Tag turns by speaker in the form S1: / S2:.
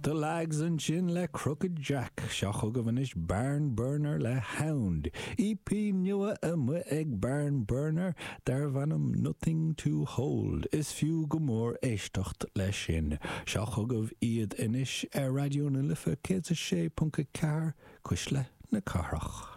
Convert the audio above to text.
S1: The Lags ansin le Crooked Jack. Seo chugaibh anois Barnburner le Hound. EP nua amuigh ag Barnburner darbh ainm Nothing To Hold. Is fiú go mór éisteacht leis sin. Seo chugaibh iad anois ar Raidió na Life 106.4, Cuisle na Cathrach.